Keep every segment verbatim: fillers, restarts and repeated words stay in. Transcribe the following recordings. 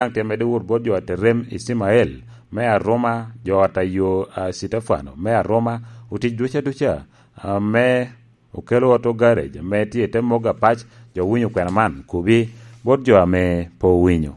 Daŋ tye medde wot bot jo a Terem Icimael me Aroma, jo a Tayo, a, Citefano me Aroma, otic duca duca, a, me okelo Auto Garage ame tye i te mogo apac, jo winyo kwena man, kubi bot jo ame pe owinyo.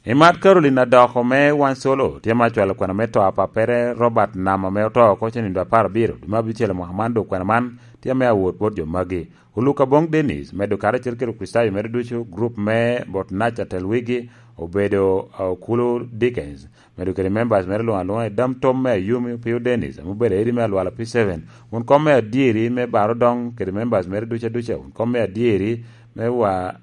I mat Caroline Adoko me Wan Solo, tye ma cwalo kwena me to a pappere Robert Nam ame oto oko cen nindo apar abiro, dwe me abicel i mwaka man, dok kwena man tye me awot bot jo magi. Oluka Bong Dennis, medo karacel kede Kricitayo mere ducu, grup me Botnac atel wigi obedo, uh, Okulu Dickens, medo kede members mere luŋ aluŋa i dam tom me Ayumi, Opio Dennis, ame obedo edi me Alwala P seven, won kom me adyeri me Baro Dong kede members mere ducu aduca, won kom me adyeri me wa,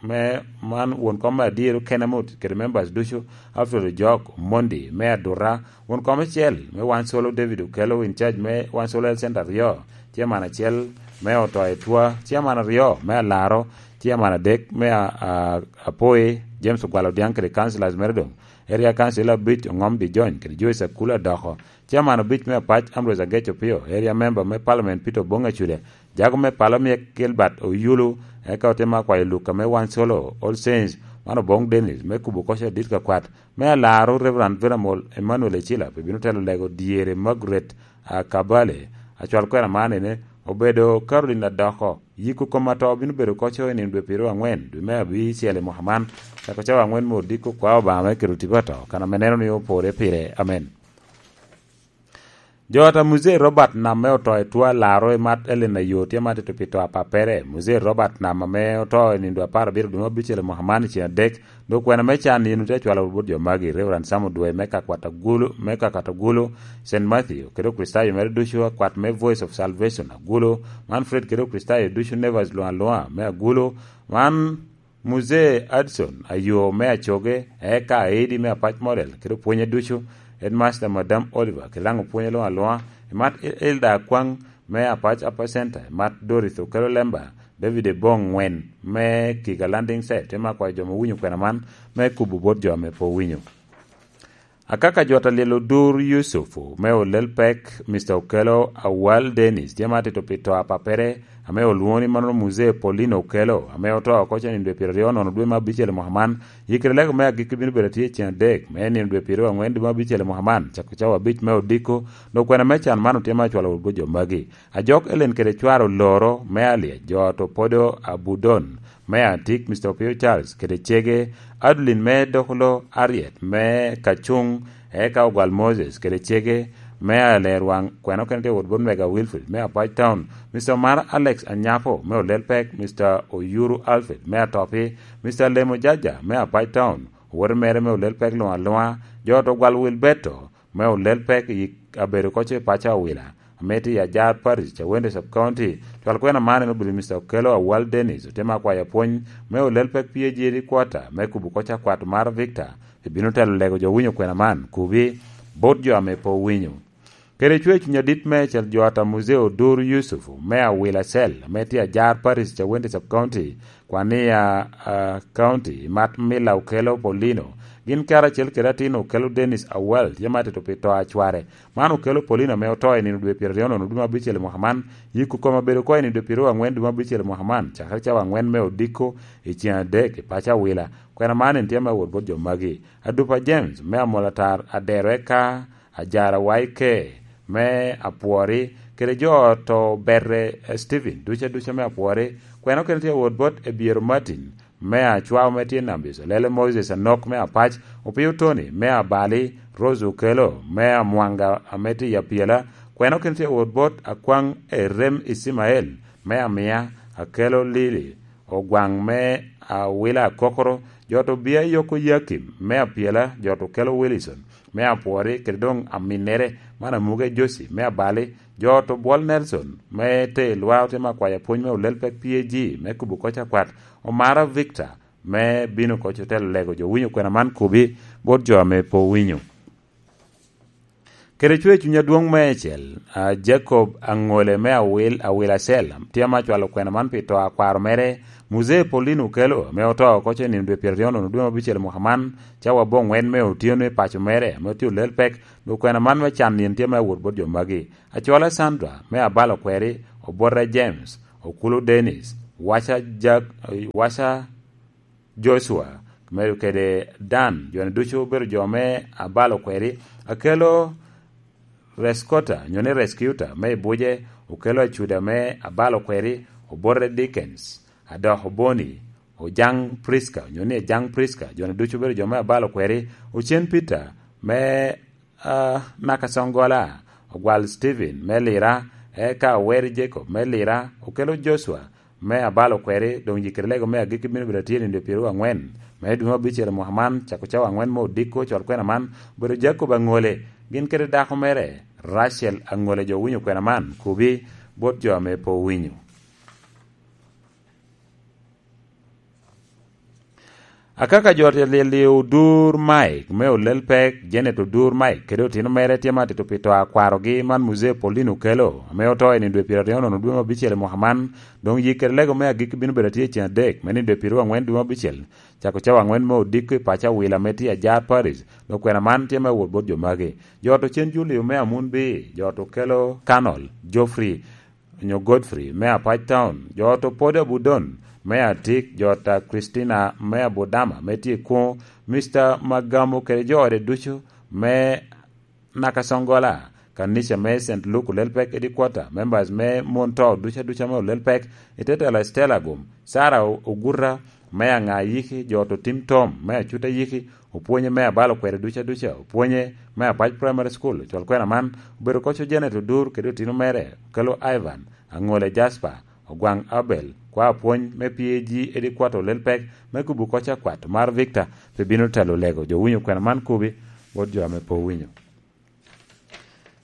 me man won kom me adyeri Kenemut kede members ducu, Alfred Ojok Mondi me Adura, won kom acel me Wan Solo David Okello, in charge me Wan Solo Health Center aryo, chairman acel me Oto Etwa, chairman aryo me Alaro, chairman adek me a, a, Apoi, James Ogwal Odiaŋ kede councillors mere doŋ, area council abic Oŋom Dijony kede Joyce Akula Adoko, chairman abic me Apac Ambrose Agec Opio, area member me parliament Peter Obong Acude, jago me palo myek Gilbert Oyulu, eka otemo akwayo Luka me Wan Solo, All Saints, man Obong Dennis, me kubo koc adit kakwat, me Alaro Reverend Venerable Emmanuel Ecila, pe bino telo lego dyere Margaret, a, Kabale, acwal kwena man ene, obedo Caroline Adoko, yiko kom ato bino bedo koco i nino dwe piero angwen, dwe me abicel i mwaka man, cako cawa angwen me odiko kwa Obama me kero tipo ato, kan ame neno ni opore pire. Amen. Jo ata Muzee Robert Nam me oto i two alaro i mat Ellen Ayo tye ma tito pi to apappere. Muzee Robert Nam ame oto i nindo apar abiro dwe me abicel i mwaka man i ceng adek, dok kwena me can yin otye acwalo bot jo magi, Reverend Sam Odwe me Kakwat Agulu, me Kakat Agulu, Saint Matthew, kede Okricitayo mere ducu, akwat me Voice of Salvation Agulu, Manfred kede Okricitayo ducu, Nevers luŋ aluŋa me Agulu, man Muzee Hudson Ayo me Acoge, eka Aidi me Apac Model, kede opwonye ducu, Headmaster Madam Oliver, kede daŋ opwonye luŋ aluŋa, i mat El-, Elda Akwaŋ me Apac Upper Center, i mat Dorothy Okello Lemba, David Ebong Ŋwen me Kiga Landing Site, tye me akwayo jo ma owinyo kwena man me kubo bot jo ame pe owinyo. Akaka jot a lyel Odur Yusuf me olel pek, Mister Okello Awal Dennis, tye ma atito pi to apappere, ame olwoŋo ni mano Muzee Paulino Okello, ame oto oko cen i dwe pyeraryo nono dwe me abicel i mwaka man. Yikere lego me agikki bino bedo atye i ceng adek, me nino dwe pyeraryo angwen dwe me abicel i mwaka man, cako cawa abic me odiko, dok kwena me can man otye me acwalo wot bot jo magi. Ajok Ellen kede cware oloro me Alyec, jo to Podo Abudon, me Atik, Mister Opio Charles, kede cege, Adeline me Dokolo Ariet, me Kacuŋ, eka Ogwal Moses, kede cege, me Alerwaŋ, kwena okene tye wot bot Mega Wilfred, me Apac Town, Mister Omar Alex Anyapo, me Olelpek, Mister Oyuru Alfred, me Atopi, Mister Lemo Jaja, me Apac Town, owote mere me Olelpek luŋ aluŋa, jo to Ogwal Wilberto, me Olelpek i abedo koco i paco Awila, ame tye i Ajar Parish, Cawende Sub County. Cwal kwena man en obedo Mister Okello Awal Dennis, otemo akwayo apwony me Olelpek P A G headquarter, me kubo koc akwat mar Victor, ebino telo lego jo winyo kwena man, kubi, bot jo ame pe owinyo. Kede cwer cuny adit meicel jo ata Muzee Odur Yusuf, me Awila Cell, ame tye Ajar Parish, Cawende Sub County, Kwania, ah, County, mat Mila Okello Paulino. Gin karacel kede atin Okello Dennis Awal, tye ma atito pi to a cware. Man Okello Paulino ame oto i nino dwe pyeraryo nono dwe me abicel i mwaka man. Yiko kome obedo oko i nino dwe pyeraryo angwen dwe me abicel i mwaka man, cakere cawa angwen me odiko i ceng adek i paco Awila. Kwena man en tye me wot bot jo magi. Adupa James, me Amolatar, Adero eka Ajara Waike, me Apwori, kede jo to Berre, eh, Stephen, duca duca me Apwori. Kwena okene tye wot bot Ebiero Martin, me Acwao, me tye Nambis, Olele Moses Anok, me Apac, Opio Tony, me Abali, Rose Okello, me Amwanga, ame tye i Apyela. Kwena okene tye wot bot Akwaŋ Erem Icimael, me Amia, Akello Lili, Ogwaŋ, me Awila Akokoro, jo to Bia Yoko Yakim, me Apyela, jo to Okello Wilson, me Apwori, kede doŋ aminnere, man Amuge Josi, me Abali, jo to Bwol Nelson, me te Lwa, otemo akwayo apwony me Olelpek P A G, me kubo koc akwat, Omara Victor, me bino koc otelo lego jo winyo kwena man kubi, bot jo ame pe owinyo. Kede cwer cuny adwoŋ meicel, a, Jacob Aŋole me Awil, Awil Acel, tye ma cwalo kwena man pi to a kwaro mere, Muzee Paulino Okello, ame oto oko cen nino dwe pyeraryo nono dwe me abicel mwaka man, cawa abongwen me otyeno i paco mere, ame otye Olelpek, dok kwena man me can nino tye me awot bot jo magi. Acola Sandra, me Abalo Kweri, Obote James, Okulu Dennis, waca Jak-, waca Jocua, medo kede Dan, jo-ni ducu obedo jo me abalo kweri. Akelo Reskota, nyo ni Rescuta, me i buce, okelo Acuda me abalo kweri, obote Dickens, Adok Oboni, Ojaŋ Priska, nyo ni Ejaŋ Priska, jo-ni ducu obedo jo me abalo kweri. Ocen Peter, me, ah, Nakacoŋgola, Ogwal Stephen, me Lira, eka Oweri Jacob, me Lira, okelo Jocua, me abalo kweri, doŋ yikere lego me agikki bino bedo atye nino dwe pyeraryo aŋwen, me dwe me abicel i mwaka man, cako cawa aŋwen me odiko, col kwena man, obedo Jacob Aŋole, gin kede dako mere, Rachel Aŋole. Jo owinyo kwena man, kubi bot jo ame pe owinyo. Akaka jo te lyel i Odur Mike me Olel Pek, Janet Odur Mike kede otino mere tye ma tito pi to a kwarogi man Muzee Paulino Okello, ame oto i nino dwe pyeraryo nono dwe me abicel i mwaka man, doŋ yik kede lego me agikki bino bedo atye i ceng adek me nino dwe pyeraryo aŋwen dwe me abicel, cako cawa aŋwen me odiko i paco Awila ame tye i Ajar Parish, dok kwena man tye me wot bot jo magi. Jo ot ocen Julio me Amunbi, jo ot Okello Kanol, Geoffrey, onyo Godfrey me Apac Town, jo ot Opwodo Abudon me Atik, jo ot a Christina me Abudama me tye i Kuŋo, Mister Magamo kede jo ode ducu me Nakacoŋgola, kanica me Saint Luke Olel Pek Headquarter, members me mon to ducu aduca me Olel Pek, i te telo Estela Agum, Sarah Oguta me Aŋa Ayiki, jo ot Otim Tom me Acuta Ayiki, opwonye me abalo kwede duca duca, opwonye me Apac Primary School, col kwena man, obedo koc Janet Odur kede otino mere, Okello Ivan, Aŋole Jasper, Ogwaŋ Abel, kwa apwony me P A G Headquarter Olel Pek, me kubo koc akwat mar Victor, pe bino telo lego. Jo winyo kwena man kubi, bot jo ame pe owinyo.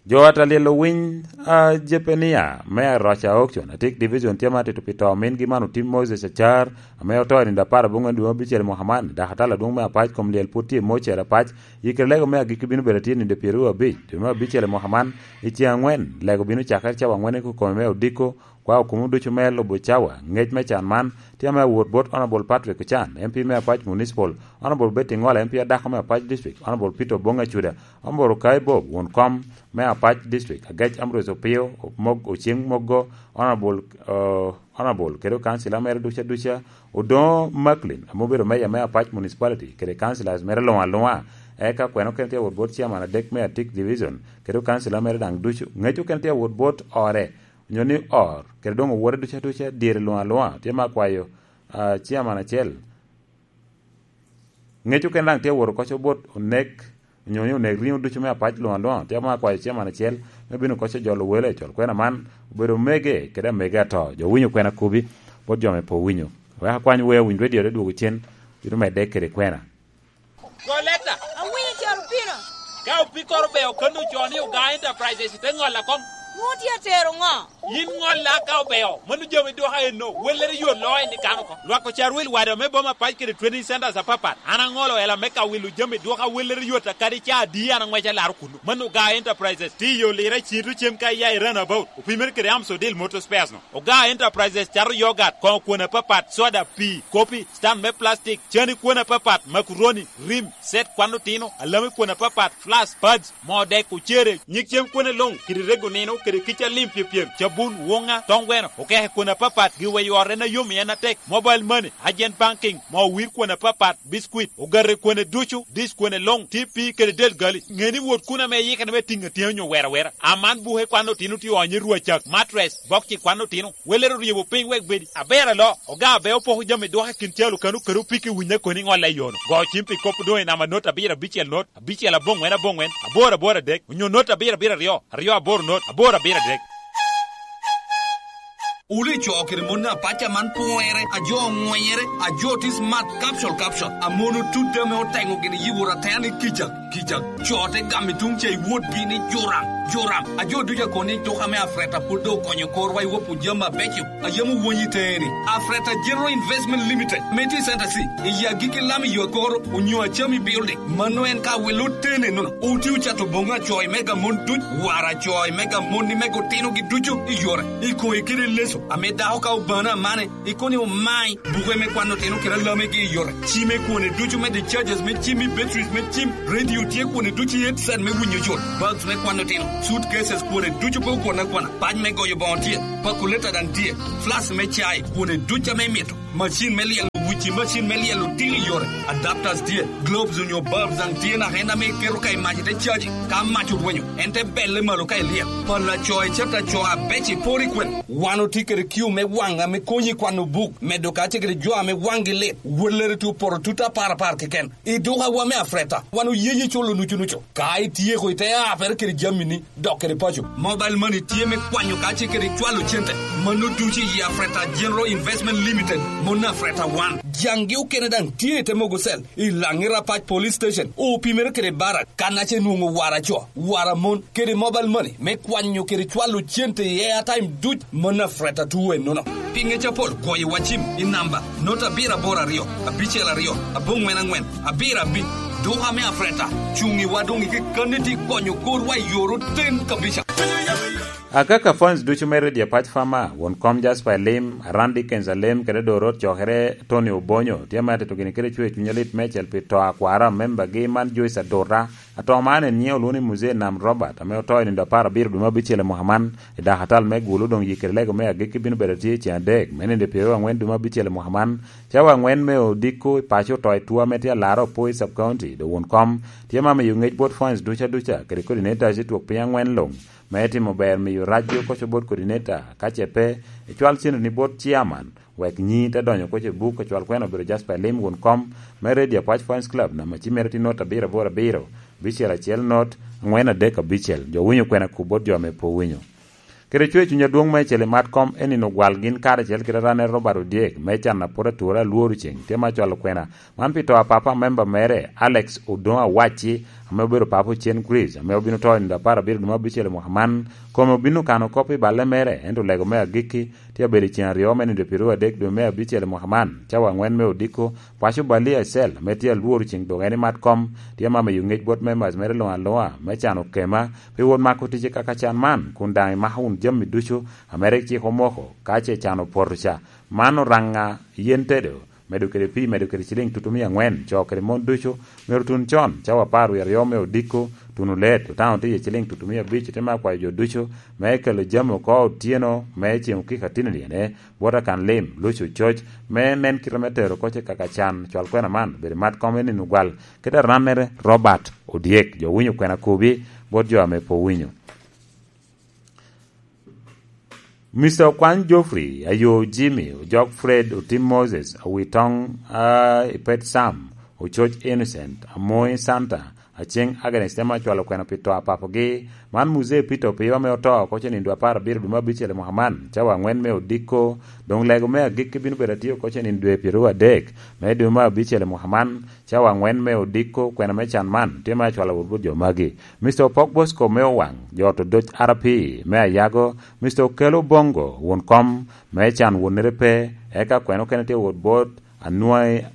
Jo ot a lyel owiny, a, Jepenia, me Aroca Auction, Atik Division, tye ma tito pi to omingi man Otim Moses Acar, ame oto i nino apar aboŋwen dwe me abicel i mwaka man, dok atala adwoŋ me Apac kom lyel pwod tye i Mocere Apac, yikere lego me agikki bino bedo atye i nino pyeraryo abic dwe me abicel i mwaka man, i ceŋ aŋwen, lego bino cakere cawa aŋwen i kome me odiko, kwa okumo ducu me lubo cawa, ŋec me can man, tye ame awot bot Honorable Patrick Ocan, M P me Apac Municipal, Honorable Betty Ŋola, M P adako me Apac District, Honorable Peter Obong Acuda, Honorable Kai Bob, won kom me Apac District, Agec Ambrose Opio, Mog-, Oceng Moggo, Honorable, eh, Honorable kede councilor mere duca duca, Odoŋo Macklin, ame obedo mayor me Apac Municipality, kede councilors mere luŋ aluŋa, eka kwena okene tye awot bot chairman adek me Atik Division, kede councilor mere daŋ ducu, ŋec okene tye awot bot ore, onyo ni or, kede doŋ owote duca duca, dyere luŋ aluŋa, tye ma akwayo, ah, chairman acel. Ŋec okene daŋ tye awot koc bot onek, onyo ni onek riŋo ducu me Apac luŋ aluŋa, tye ma akwayo chairman acel, me bino koc ojolo wele, col kwena man, obedo omege, kede amege ato, jo winyo kwena kubi, bot jo me po winyo. Wek akwany wea winy radio te dwogo cen, bino medde kede kwena. Go leta. Awinyo calo pino. Ka opikoro be okanno co ni Oga Enterprises te ŋolla koŋ. Nwoŋo tye atero ŋo? Yin ŋolla ka obeo, mano jami dwoka enno, wellere yot loo en ikano oko. Lwak ocar wil wada me boma pac kede training centers apapat. An aŋolo ela me ka wilo jami dwoka wellere yot akadi ca adi an aŋwec alaro kuno. Mano Oga Enterprises, tye i yo lira i Cito cem ka iya i Runabout, opimere kede Amsodil Motor Spares no. Oga Enterprises cato yogat, koŋo kwon apapat, soda, pii, kopi, stand me plastic, cani kwon apapat, makuroni, rim, set kwan otino, alami kwon apapat, flask, pads, moo dek, ocere, nyig cem kwone luŋ, kede rego nino, kede kica lim pyepyem, cabun, woŋa, toŋ gweno, okeke kwon apapat, giweyo ot en ayom i en atek, mobile money, agent banking, moo wir kwon apapat, biscuit, ogate kwone ducu, dish kwone luŋ, T P kede del gali. Ŋe ni wot kun ame iyikere me tiŋ atyeni onyo wero awera. Aman buke kwan otino tye onyo i rwacak, mattress, bokci kwan otino. Welere oryebo piny wek bedi aber alo. Oga abe opoko jami dwoke kin calo kano kede opiki winye koni ŋolle i yono. Go cim pi kop doŋ i namba not abiro abicel not, abicel aboŋwen aboŋwen, aboro aboro adek, onyo not abiro abiro aryo, aryo aboro not, aboro abiro adek. Wule co kede mon apac aman pwere, a jo oŋwenyere, a jo tye smart, capsule, capsule. A mon otut ame oteŋo gin i yibo ratena ni kica, kica. Co te gamo i tuŋ ca i wotgi ni Joram, Joram. A jo ducu akon ni tuk ame Afreta pwod doŋ okonyo korwa i wopo jami abeco. A yam owonyi teŋe ni, Afreta General Investment Limited, ame tye i Center C, i agikki lam i yo akoro, onyo Acami Building. Mano en ka wilo tene nono. Oti ocato boŋo acoy mega mon duc, war acoy mega mon ni mega otinogi ducu i yore. I koŋe kede leso, ame dako ka obano amane, ikono ni omai, buke me kwano otino kede alamegi i yore. Cime kwone ducu me discharges me cim i batteries me cim, radio Tye kwone ducu i headset me winyo yot, bags me kwano tino, suitcases kwone ducu pe okwone akwana, pac me goyo boŋo tye, pakuleta daŋ tye, flask me cai kwone ducu ame imito, macin me lyelo wuci, macin me lyelo odilo i yore, adapters tye, globes onyo bulbs daŋ tye naka en ame iketo ka i mac ite caji, ka mac orwenyo, en te belle malo ka ilyel. Pala co icet aco abec iporo i kwene. Wan otye kede kiu me waŋ ame konyi i kwano buk, medo kacel kede jo ame waŋgi lit, wellere tye opoto tut apar apar keken. I dukawa me Afreta, wan oye yi culo nucu nucu. Ka ityeko, ite apere kede jamini, dok kede paco. Mobile money tye me kwanyo kacel kede cwalo cente. Mano ducu i Afreta General Investment Limited, mon Afreta wan. Jaŋgi okene daŋ tye i te mogo cell, i Laŋi Rapac Police Station, opimere kede barak, kan ace nwoŋo wara co, wara mon, kede mobile money, me kwanyo kede cwalo cente i airtime duc, mon Afreta tuwe nono. Pi ŋec apol, goyo wa cim i namba not abiro aboro aryo, abicel aryo, aboŋwen aŋwen, abiro abic. Duka me Afreta, cuŋ i wa doŋ i kekkanni ti konyo korwa i yor oten kabisa. Akaka fans ducu me Radio Pac Fama, won kom Jasper Lim, Aran Dickens Alem, kede Dorot Cokere, Tony Obonyo, tye ma tito gini kede cwe cuny alit mecel pi to akwara member gi man Joyce Adota. Ato man en nyiŋe olwoŋo ni Muzee Nam Robert, ame oto i nindo apar abiro dwe me abicel i mwaka man. I dakatal me gulu doŋ yikere lego me agikki bino bedo tye i ceng adek, me nindo pyeraryo aŋwen dwe me abicel i mwaka man. Cawa aŋwen me odiko i paco oto i tuo ame tye alarre opo i sub county, do won kom tye ma miyo ŋec bot fans duca duca, kede coordinators i twok piny aŋwen luŋ, me timo ber miyo racgi okoco bot coordinator, ka ce pe, icwal cente ni bot chairman, wek nyi te donyo okoco i buk, icwal kwena obedo Jasper Lim won kom me Radio Apac Fans Club, namba ci mere tye not abiro aboro abiro, bicel acel not, aŋwen adek abicel. Jo winyo kwena ku bot jo ame pe owinyo. Kede cwe cuny adwoŋ me cel i mat kom en nino gwal gin karacel kede ranere Robert Odyek, me can a pwod ature alworo ceng, tye ma cwalo kwena. Man pi to a papa member mere, Alex Odoŋo Awacci, ame obedo papa Ocen Chris, ame obino to i nindo apar abiro dwe me abicel i mwaka man. Kome obino kano kop i balle mere, ento lego me agikki tye abedo i ceng aryo me nindo pyeraryo adek dwe me abicel i mwaka man. Cawa aŋwen me odiko, paco Balia Ecel, ame tye alworo ceng dok en i mat kom, tye ma miyo ŋec bot members mere luŋ aluŋa, me cano kema, pi wot mako tic i kaka can man, kun daŋ imako wunu jami ducu, ame rik cik omoko, ka ce can opoto ca. Man oraŋa yen tedo, medo kede pii, medo kede ciliŋ tutumia aŋwen, co kede mon ducu myero tun con, cawa apar wie aryo me odiko, tuno let, otano tye iye ciliŋ tutumia abic, ite me akwayo jo ducu, me kelo jami oko otyeno, me ceŋ okika tino lyene, bot akan lim, luco coc, me nen kite me tero koc i kaka can, cwal kwena man, bedo mat kome nino gwal, kede arannere Robert Odyek, jo winyo kwena kobi, bot jo ame pe owinyo. Mister Okwany Geoffrey, Ayo Jimmy, Ojok Fred, Otim Moses, Awitoŋ, a, Ipet Sam, Ococ Innocent, Amoy Santa, Aceng Agnes, temo acwalo kwena pi to a papogi. Man Muzee Peter Opiyo ame oto oko ce nindo apar abiro dwe me abicel i mwaka man, cawa aŋwen me odiko. Doŋ lego me agikki bino bedo atye oko ce nindo dwe pyeraryo adek me dwe me abicel i mwaka man, cawa aŋwen me odiko. Kwena me can man tye me acwalo wot bot jo magi. Mister Opok Bosco me Owaŋ, jo to doc R P me Ayago, Mister Okelo Bongo, won kom me can wonnere pe, eka kwena okene tye wot bot Anwai,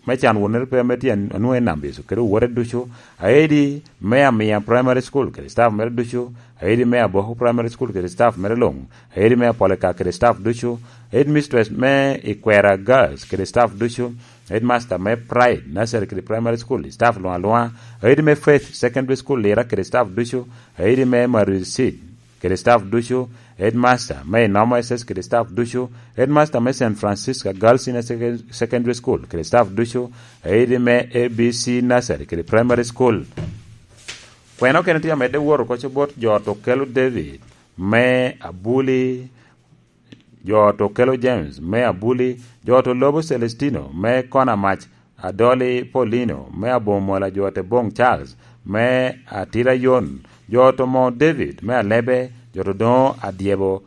me can wonnere pe ame tye Anwai Nambiso, kede owote ducu, Aedi me Amia Primary School kede staff mere ducu, Aedi me Aboko Primary School kede staff mere luŋ, Aedi me Apolika kede staff ducu, Headmistress me Ikwera Girls kede staff ducu, Headmaster me Pride Nursery kede Primary School, staff luŋ aluŋa, Aedi me Faith Secondary School Lira kede staff ducu, Aedi me Marie Seed kede staff ducu, Headmaster me Inomo S S kede staff ducu, Headmaster me Saint Francisca Girls Senior Second-, Secondary School kede staff ducu, Aedi me A B C Nursery kede Primary School. Kwena okene tye amedde woro koco bot jo to kelo David me Abuli, jo to kelo James me Abuli, jo to lobo Celestino me Konamac, Adoli Paulino me Abomola, jo te Boŋ Charles me Atira Yon, jo to mo David me Alebe, jo to doŋo Adyebo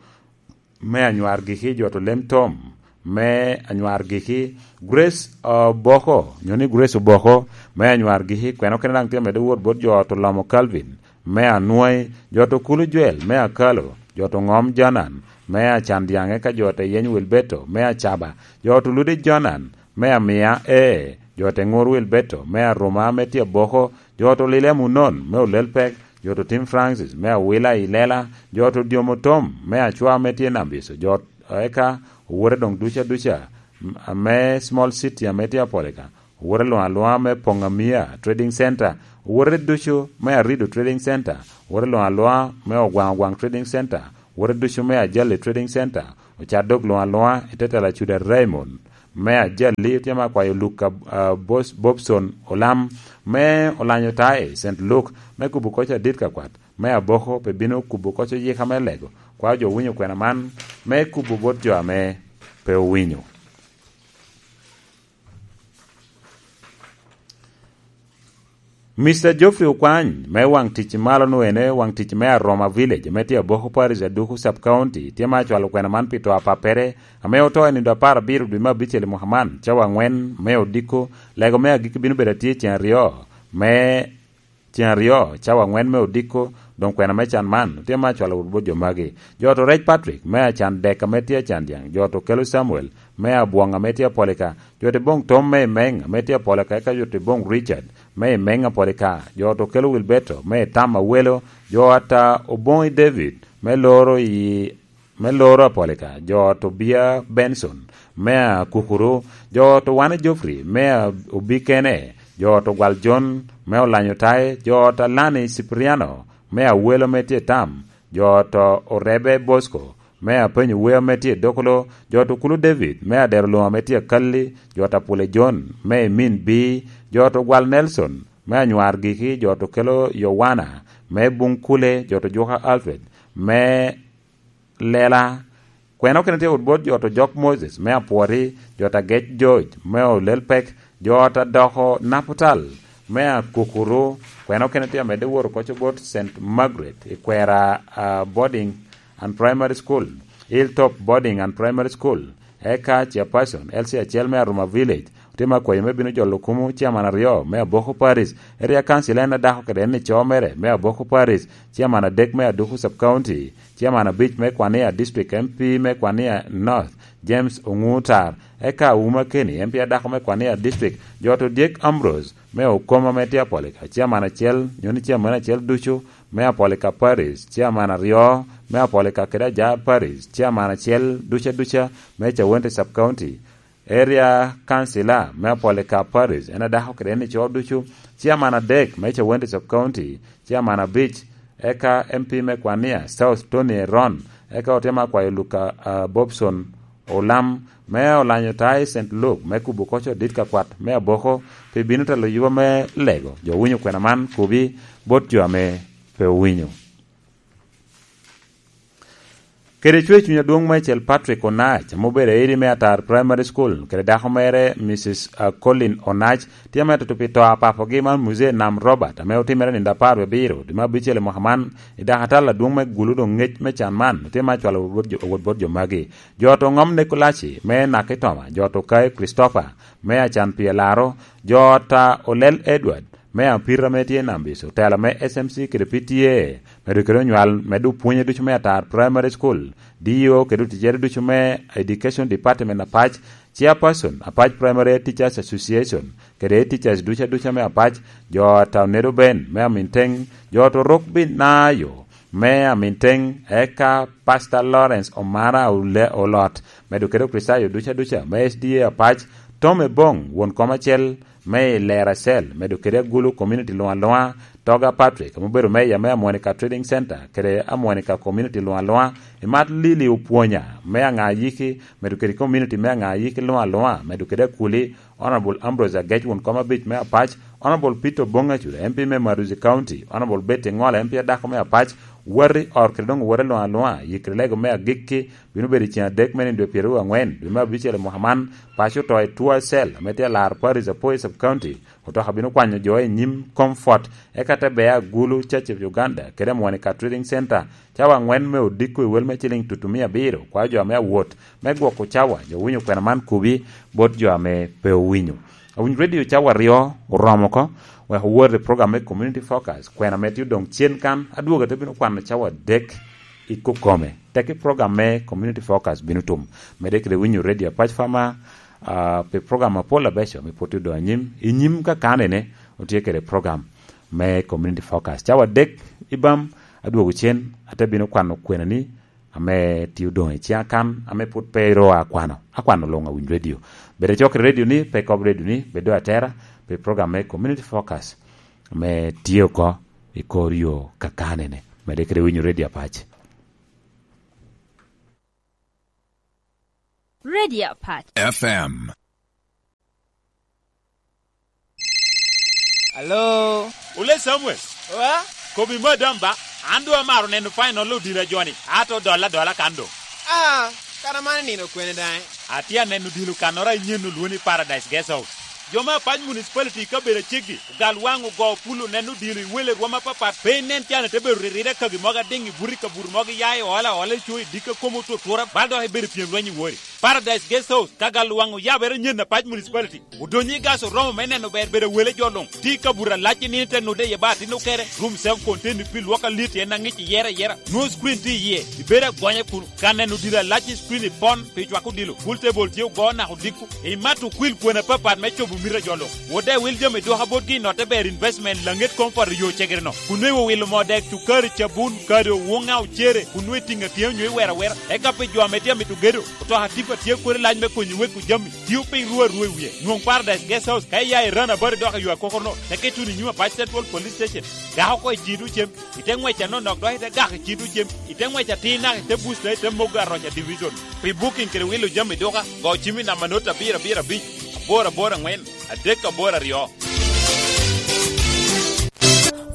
me Anywar Giki, jo to Lem Tom me Anywar Giki, Grace Oboko, nyo ni Grace Oboko me Anywar Giki, kwena okene daŋ tye amedde wot bot jo to Lomo Calvin me Anwai, jo to Kulu Jwel me Akalo, jo to Ŋom Jonan me Acan Dyaŋe, ka jo to Yeny Wilberto me Acaba, jo to Ludi Jonan me Amia, ee, jo to Ŋur Wilberto me Aruma me tye Aboko, jo to Lile Munon me Olelpek, jo to Tim Francis me Awila i Lela, jo to Dyomo Tom me Acwa me tye Nambiso, jo eka owote doŋ duca duca, m-, ame Small City ame tye Apolika, owote luŋ aluŋa me Poŋamia Trading Center, owote ducu me Arido Trading Center, owote luŋ aluŋa me Ogwaŋ Ogwaŋ Trading Center, owote ducu me Ajali Trading Center, ocat dok luŋ aluŋa i te tela Cuda Raymond me Ajali. Otye me akwayo Luka, ah, Bos-, Bobson Olam me Olanyo Tae, Saint Luke, me kubo koc adit ka kwat me Aboko pe bino kubo koc oyika me lego. Kwa jo winyo kwena man me kubo bot jo ame pe owinyo. Mister Geoffrey Okwany, me waŋ tic malo nu ene, waŋ tic me Aroma Village, me tye Aboko Parish, Aduku Sub County, tye ma acwalo kwena man pi to apappere, ame oto i nino apar abiro dwe me abicel i mwaka man, cawa aŋwen me odiko. Lego me agikki bino bedo atye ceŋ aryo me, ceŋ aryo, cawa aŋwen me odiko. Doŋ kwena me can man, tye ma acwalo wot bot jo magi. Jo to Rec Patrick, me acan dek ame tye acan dyaŋ, jo to Kelo Samuel, me Abwoŋ ame tye Apolika, jo to Boŋ Tom me Imeng ame tye Apolika, eka jo to Boŋ Richard, me Imeng Apolika, jo to Kelo Wilberto, me Tam Awelo, jo ata Oboŋi David, me loro i, me loro Apolika, jo to Bia Benson, me Akukuru, jo to Wane Geoffrey, me a-, Obikene, jo to Gwal John, me Olanyo Tae, jo to Alani Cipriano, me Awelo me tye Tam, jo to Orebe Bosco, me Apenyo Weo me tye Dokolo, jo to Kulu David, me Adero Luŋa me tye Akalli, jo to Apule John, me Emin Bi, jo to Gwal Nelson, me Anywar Giki, jo to Kelo Yowana, me Buŋ Kule, jo to Juka Alfred, me Lela. Kwena okene tye wot bot jo to Jok Moses, me Apwoti, jo to Agec George, me Olelpek, jo to Adoko Naputal, me Akukuru. Kwena okene tye amedde woro koco bot Saint Margaret i Kwera, ah, Boarding and Primary School, Hilltop Boarding and Primary School, eka Chairperson L C acel me Aroma Village, otye me akwayo me bino jolo kumo, Chairman aryo me Aboko Parish, Area Council en adako kede en ico mere me Aboko Parish, Chairman adek me Aduku Sub County, Chairman abic me Kwania District, M P me Kwania North, James Oŋutar, eka Auma Keni, M P adako me Kwania District, jo to Dyek Ambrose, me Okoma me tye Apolika, Chairman acel, nyo ni Chairman acel ducu, me Apolika Parish, Chairman aryo, me Apolika kede Ajar Parish, Chairman acel duca duca, me Cawente Sub County, Area Councilor me Apolika Parish, en adako kede en ico ducu, Chairman adek me Cawente Sub County, Chairman abic, eka M P me Kwania South Tony Eron, eka otemo akwayo Luka, ah, Bobson Olam, me Olanyo Tae Saint Luke, me kubo koco dit ka kwat me Aboko, pi bino telo yuba me lego, jo winyo kwena man kubi bot jo ame pe owinyo. Kede cwer cuny adwoŋ meicel Patrick Onach, ame obedo airi me Atar Primary School, kede dako mere, Missus Colin Onach, tye ame tutup i to a papogi man Muzee Nam Robert, ame otimere nino apar wie abiro, dwe me abicel i mwaka man, i dakatal adwoŋ me Gulu. Doŋ ŋec me can man, tye me acwalo wot bot jo, wot bot jo magi. Jo to Ŋom Nekulaci, me Nakitoma, jo to Kayo Christopher, me Acan Pye Laro, jo ta Olel Edward, me Apita ame tye i Nambis, otela me S M C kede P T A, medo kede onywal, medo pwonye ducu me Atar Primary School, D E O kede oticere ducu me Education Department apac, Chairperson Apac Primary Teachers Association, kede teachers duca duca me apac, jo ata Onedo Ben me Aminteng, jo to Rok Binayo me Aminteng, eka Pastor Lawrence Omara Ole-, Olot, medo kede Okricitayo duca duca me S D A apac, Tom Ebong, won kom acel, me i Lera Cell, medo kede Agulu Community luŋ aluŋa, Toga Patrick, ame obedo meya me Amonica Trading Center, kede Amonica Community luŋ aluŋa, Imat Lili Opwonya, me Aŋa Ayiki, medo kede community me Aŋa Ayiki luŋ aluŋa, medo kede Akuli, Honorable Ambrose Agec won kom abic me apac, Honorable Peter Obong Acuda, M P me Maruzi County, Honorable Betty Ŋola, M P adako me apac, wati or kede doŋ wati luŋ aluŋa, yikere lego me agikki, bino bedo i ceng adek me nino dwe pyeraryo aŋwen, dwe me abicel i mwaka man, paco oto i Tua Cell, ame tye alar Paris Apoy Sub County, otoka bino kwanyo jo i nyim Comfort, eka te bea Agulu Church of Uganda, kede Monica Trading Center, cawa aŋwen me odiko i wel me ciling tutu mia abiro, kwayo jo ame awot, me gwoko cawa, jo winyo kwena man kubi, bot jo ame pe owinyo. Awinyo Radio cawa aryo oromo oko, wek owot i program me Community Focus, kwena ame tye odoŋ cen kan, adwogo ate bino kwano cawa adek i kokome. Tekki program me Community Focus bino tum. Mede kede winyo Radio Apac Fama, ah, pi program apol abeco me pwod odoŋ anyim. I nyim ka kanene, otye kede program me Community Focus. Cawa adek i bam, adwogo cen, ate bino kwano kwenani, ame tye odoŋ i ciŋ akan, ame pwod pe ru akwano, akwano luŋ awiny redio. Bed acok i redio ni, pe ikob redio ni, bed doŋ atera pi program me Community Focus, ame tye oko i kor yo kakane-ni. Medde kede winyo redio apac. Radio Apac. F M. Alo? Ole Samuel. Wa? Kobi madam ba, an doŋ amaro neno final odila joni, ato dolla dolla kan doŋ. Ah, kara man nino kwene daŋ? Atye aneno odilo kannoro a inyen olwoni Paradise Guest House. Jo me Apac Municipality i kabedo aceggi, ogal waŋ ogo pulo neno odilo i wele rwom apapat, pe inen can ite bedo riride kagi mogo adiŋ i buto i kabuto mogo iya i ola ola i co i dikka kom otutura, bal dok ibedo i pyem lweny i wori. Paradise Guest House, ka gal waŋ oyabere nyen Apac Municipality. Odonyo i gas oromo me neno ber bedo wele jo luŋ. Tye i kabuto alac i nino ite nude iye ba atin okere. Room self contained pi lwok alit en aŋic iyere ayera. Nwoŋo screen tye iye. Ibedo agonya kun ka neno odilo alac i screen ipon pi cwako odilo. Pool table tye ogo naka odiko. Imato okwil kwena apapat me cobo mito a jo luŋ. Wode wil jami dwoka botgi i notte ber investment laŋet comfort i yo cegere no. Kun nwoŋo iwilo moo dek, cukari, cabun, kado, wuŋa, ocere, kun nwoŋo itiŋo atiŋa onyo iwero awera. Eka pi jo ame tye amito gedo, otoka tipa tye kodi lac me konyo weko jami. Tio piny ruu arua i wie. Nwoŋ Paradise Guest House ka iya i Run About dok i yo akokoro no, teke ituno i nyim Apac Central Police Station. Gak oko i ciŋ tucem, ite ŋwec anonok dok ite gak i ciŋ tucem, ite ŋwec atir naka ite Booster ite mogo Aroca Division. Pi booking kede wilo jami duka, go cim i namba not abiro abiro abic, aboro aboro aŋwen, adek aboro aryo.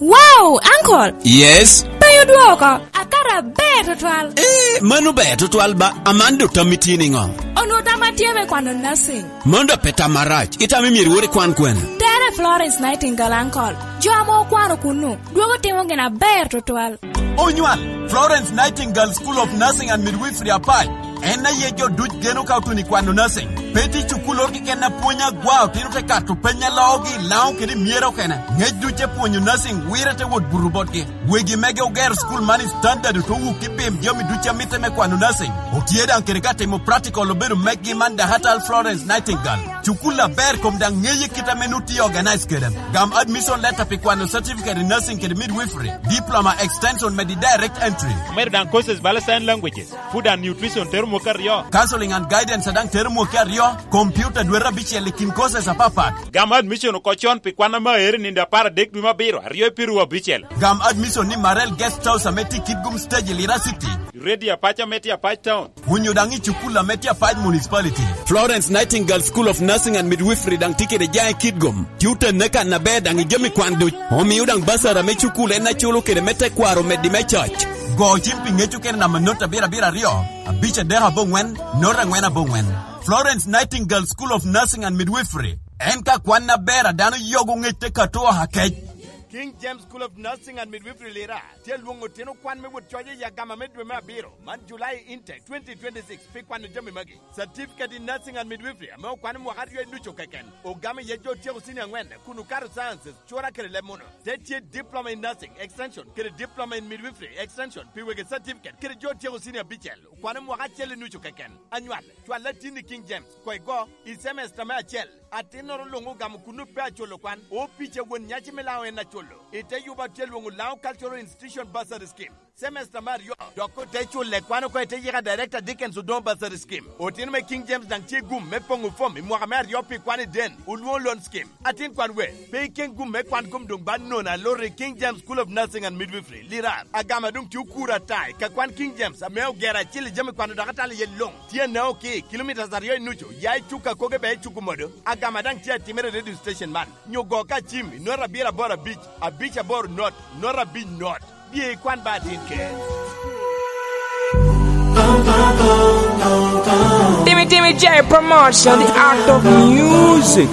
Wow, uncle! Yes? Pe odwoko, akato aber tutwal. Eh, mano ber tutwal ba, aman do tammi tye niŋo? Onwoŋo tamma tye me kwano nursing. Mano do pe tam marac, itamo myero iwot ikwan kwene? Tere Florence Nightingale, uncle. Jo ame okwano kunnu, dwogo timo gin aber tutwal. Onywal, Florence Nightingale School of Nursing and Midwifery Apac. En aye jo duc geno ka otuno i kwano nursing. Pe tye cukul oro keken a pwony agwa, otino te kato peny a loogi i Laŋo kede i Myera okene. Ŋec duc te pwonyo nursing, wire te wot buto botgi. Wegi mege ogero cukul man i standard, ote wuk i pim jami duc a mitte me kwano nursing. Otye daŋ kede ka timo practical obedo meggi man Dakatal Florence Nightingale. Cukul aber kom daŋ ŋeye kit ame nut tye organize kede. Gam admission letter pi kwano certificate in nursing kede midwifery, diploma extension medi direct entry. Omedo daŋ courses bala sign languages, food and nutrition tero mwaka aryo. Counseling and guidance daŋ tero mwaka aryo, computer dwete abicel i kin courses apapat. Gam admission oko con pi kwan ame aero i nino apar adek dwe me abiro, aryo i piru abicel. Gam admission ni Marel Guest House ame tye i Kitgum Stage i Lira City. Radio Apac ame tye Apac Town. Onyo daŋ i cukul ame tye Apac Municipality. Florence Nightingale School of Nursing and Midwifery daŋ tye kede jaŋ i Kitgum. Tye otenne kan aber daŋ i jami kwan duc. Omio daŋ basara me cukul en aculo kede me tekwaro meddi me coc. Go cim pi ŋec okene namba not abiro abiro aryo, abic adek aboŋwen, not aŋwen aboŋwen. Florence Nightingale School of Nursing and Midwifery. En ka kwan aber a dano yogo ŋec te kato oha kec. King James School of Nursing and Midwifery Lira tye lwoŋo otino kwan me wot coc i agama me dwe me abiro, man July intake twenty twenty-six, pi kwano jami magi. Certificate in Nursing and Midwifery ame okwano mwaka aryo i nucu keken, ogamo iye jo otyeko senior aŋwen kun okato sciences, cura kede leb muno. Te tye Diploma in Nursing Extension kede Diploma in Midwifery Extension pi wegi certificate kede jo otyeko senior abicel, okwano mwaka acel i nucu keken. Anywal, cwal atin i King James, koŋ igo i semester me acel. Atinnoro luŋ ogamo kun pe aculo kwan, opic a won nyaci me Laŋo en aculo. I te yubo atye lwoŋo Laŋo Cultural Institution Bursary Scheme, semester me aryo, dok ote culle kwan oko i te yika Director Dickens Odongo Bursary Scheme. Otino me King James daŋ tye gum me poŋo fom i mwaka me aryo pi kwan i den, olwoŋo loan scheme. Atin kwan we, pe iken gum me kwan kom doŋ ba nono aloro i King James School of Nursing and Midwifery, Lirar, agama doŋ tye okuro ata i ka kwan King James ame ogero acil i jami kwano dok atalo iye luŋ. Tye anao ki kilomitas aryo i nucu, ya i Cuka koge bea i Cuku Modo. Agama daŋ tye atimere i radio station man. Nyo go ka cim i nota abiro aboro abic, abic aboro not, nota abic not. Bye ikwan ba atin ker. Timmy Timmy J Promotion, the art of music.